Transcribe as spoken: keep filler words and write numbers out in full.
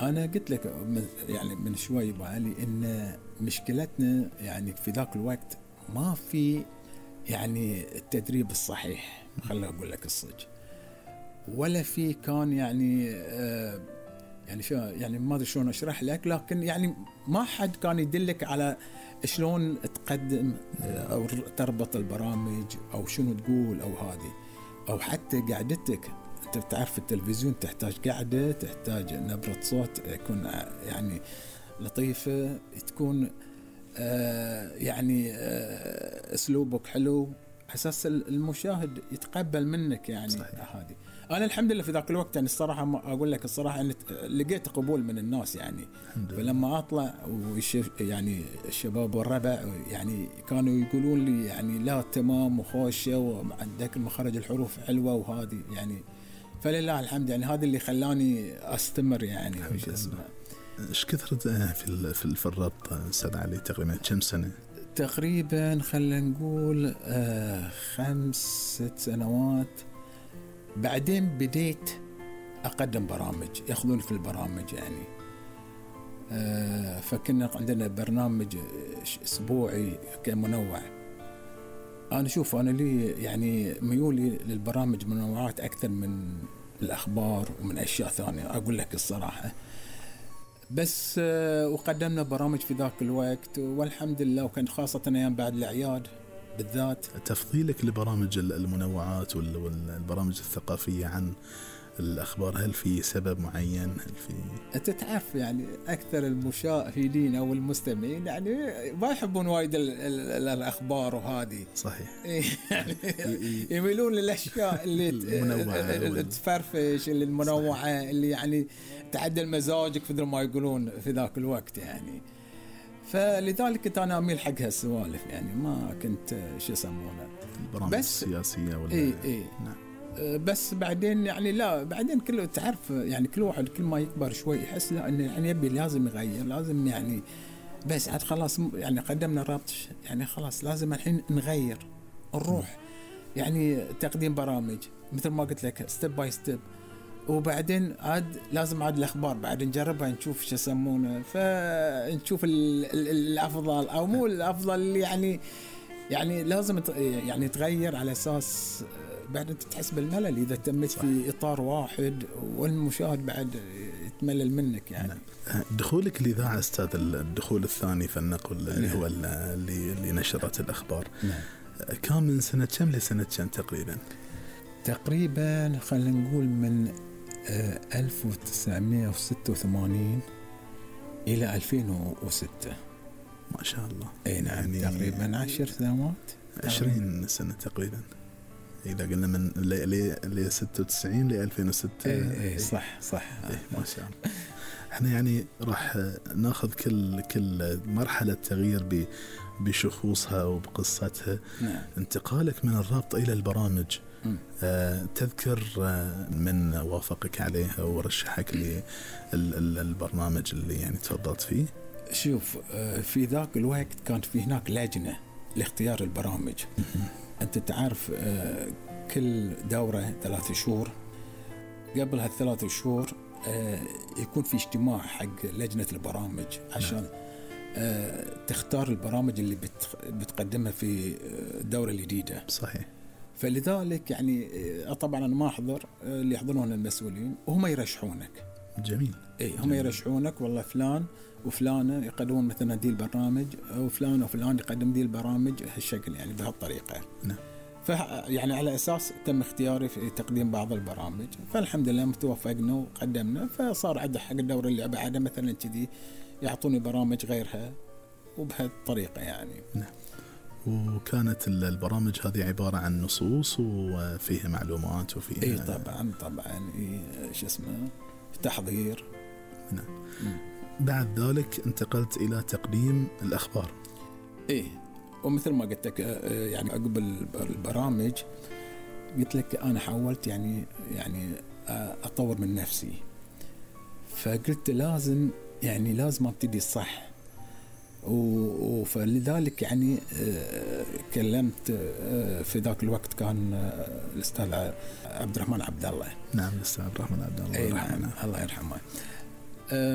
أنا قلت لك يعني من شوي بعلي إن مشكلتنا يعني في ذاك الوقت ما في يعني التدريب الصحيح، خلنا أقول لك الصدق، ولا في كان يعني آه يعني شو يعني ما أدري شلون أشرح لك، لكن يعني ما حد كان يدلك على شلون تقدم أو تربط البرامج أو شنو تقول أو هذه، أو حتى قعدتك. أنت بتعرف التلفزيون تحتاج قعدة، تحتاج نبرة صوت يكون يعني لطيفة، تكون آه يعني آه أسلوبك حلو أساس المشاهد يتقبل منك يعني. هذه أنا الحمد لله في ذاك الوقت يعني الصراحة ما أقول لك الصراحة أن لقيت قبول من الناس يعني. فلما أطلع يعني الشباب والربع يعني كانوا يقولون لي يعني لا تمام وخوشة وعندك المخرج الحروف حلوة وهذه يعني، فلله الحمد يعني هذا اللي خلاني أستمر يعني. وش اسمه إيش كثرت في في الربط أستاذ علي تقريبا كم سنة؟ تقريبا خلينا نقول آه خمس ست سنوات. بعدين بديت أقدم برامج، يأخذون في البرامج يعني. آه فكنا عندنا برنامج أسبوعي كمنوع. أنا شوف أنا لي يعني ميولي للبرامج منوعات أكثر من الأخبار ومن أشياء ثانية أقول لك الصراحة. بس وقدمنا برامج في ذاك الوقت والحمد لله، وكان خاصة أيام بعد الأعياد بالذات. تفضيلك لبرامج المنوعات والبرامج الثقافية عن الأخبار، هل في سبب معين؟ هل في أنت تعرف يعني أكثر المشاهدين أو المستمعين يعني ما يحبون وايد الأخبار وهذه صحيح يعني يميلون للأشياء اللي تفرفش، اللي المنوعة، اللي يعني تعدل مزاجك في ما يقولون في ذاك الوقت يعني. فلذلك كنت أنا أميل حق هالسوالف يعني، ما كنت شو يسمونه البرامج السياسية ولا إيه إيه نعم. بس بعدين يعني لا بعدين كله تعرف يعني كل واحد كل ما يكبر شوي يحس لا انه يعني يبي لازم يغير، لازم يعني بس عاد خلاص يعني قدمنا ربط يعني خلاص لازم الحين نغير نروح يعني تقديم برامج مثل ما قلت لك ستيب باي ستيب، وبعدين عاد لازم عاد الأخبار بعد نجربها نشوف شو يسمونه، فنشوف الأفضل أو مو الأفضل اللي يعني يعني لازم يعني تغير على أساس بعد أنت تحس بالملل إذا تمت في إطار واحد والمشاهد بعد يتملل منك يعني. دخولك الإذاعة أستاذ الدخول الثاني في النقل اللي هو اللي, اللي نشرت الأخبار نعم. كان من سنة كم لسنة كم تقريبا؟ تقريبا خلينا نقول من ألف وتسعمائة وستة وثمانين إلى ألفين وستة. ما شاء الله. أي نعم يعني تقريبا عشر سنوات عشرين سنة تقريبا إذا قلنا من ل ستة وتسعين ل ألفين وستة. إيه إيه صح صح إيه ما شاء الله. إحنا يعني راح ناخذ كل كل مرحلة تغيير بشخوصها وبقصتها. نعم. انتقالك من الربط إلى البرامج آه تذكر آه من وافقك عليها ورشحك للبرنامج اللي يعني تفضلت فيه؟ شوف آه في ذاك الوقت كانت في هناك لجنة لاختيار البرامج. أنت تعرف آه كل دورة ثلاث شهور، قبل هالثلاث شهور آه يكون في اجتماع حق لجنة البرامج عشان آه تختار البرامج اللي بتقدمها في الدورة الجديدة. صحيح. فلذلك يعني طبعا أنا ما أحضر، اللي يحضرون المسؤولين وهم يرشحونك. جميل. إيه هم يرشحونك والله فلان وفلانة يقدمون مثلا دي البرنامج، وفلان وفلان يقدم دي البرامج هالشكل يعني بهالطريقة. نعم. فيعني على أساس تم اختياري في تقديم بعض البرامج، فالحمد لله متوفقنا وقدمنا، فصار عندي حق الدورة اللي بعدها مثلا كذي يعطوني برامج غيرها وبهالطريقة يعني. نعم. وكانت البرامج هذه عبارة عن نصوص وفيها معلومات وفيها إيه طبعا طبعا إيه شو اسمه تحضير. نعم. بعد ذلك انتقلت إلى تقديم الأخبار. إيه ومثل ما قلت لك يعني عقب البرامج قلت لك أنا حاولت يعني يعني أطور من نفسي، فقلت لازم يعني لازم أبتدي صح، وفلذلك يعني كلمت في ذاك الوقت كان الأستاذ عبد الرحمن عبد الله. نعم الأستاذ عبد الرحمن عبد الله الله يرحمه. الله يرحمه. آه